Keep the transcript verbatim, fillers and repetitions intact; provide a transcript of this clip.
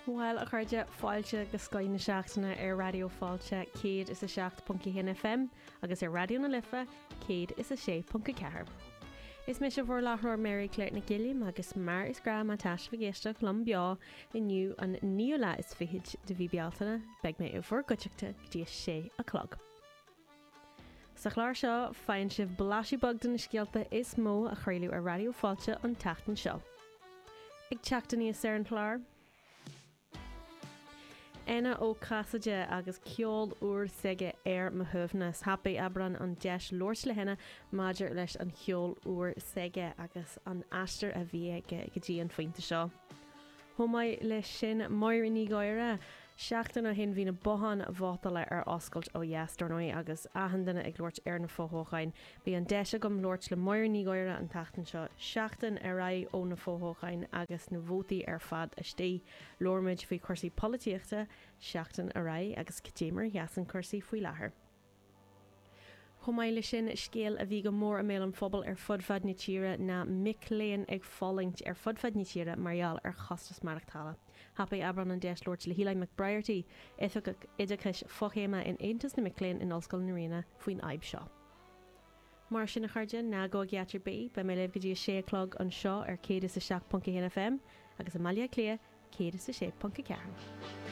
Bhuel, a chairde, fáilte go Scoth na Seachtaine ar Raidió Fáilte céad is a seacht ponc a haon F M agus ar Raidió na Life céad is a sé ponc a ceathair. Is mise bhur láithreoir, Mary Claire Nic Gilliam, agus mar is gnách, má tá sibh ag éisteacht liom beo inniu, an naoú lá is fiche de mhí Bealtaine, beidh mé i bhur gcuideachta go dtí a sé a chlog. Sa chlár seo faigheann sibh blaiseadh beag de na scéalta is mó a chraoladh ar Raidió Fáilte an tseachtain seo. Ag teacht aníos ar an chlár, Éanna Ó Casaide agus ceol úr s'aige "Ar Mo Shuaimhneas". Thapaigh Aibreán an deis labhairt le hÉanna maidir leis an cheol úr s'aige agus an aistear a bhí aige go dtí an phointe seo. Chomh maith leis sin, Máire Ní Ghadhra. Seachtain ó shin bhí na botháin vótála ar oscailt ó dheas, dar ndóigh, agus achan duine ag labhairt ar na fothoghcháin. Bhí an deis agam labhairt le Máire Ní Ghadhra an tseachtain seo, seachtain ar aghaidh ó na fothoghcháin agus na vótaí ar fad istigh. Labhair muid faoi chúrsaí polaitíochta seachtain ar aghaidh agus cad é mar a sheasann cúrsaí faoi láthair. Chomh maith leis sin, scéal a bhí go mór i mbéal an phobail ar fud fad na tíre ná mic léinn ag fulaingt ar fud fad na tíre mar gheall ar chostas maireachtála. Thapaigh Aibreán an deis labhairt le hEli McBriarty, Oifigeach Oideachais Fochéime in Aontas na Mic Léinn in Ollscoil na Ríona, faoin fhadhb seo. Mar sin, a chairde, ná gabhaigí áit ar bith, beidh mé libh go dtí a sé a chlog anseo ar céad is a seacht ponc a haon F M agus i mBaile Átha Cliath céad is a sé ponc a ceathair.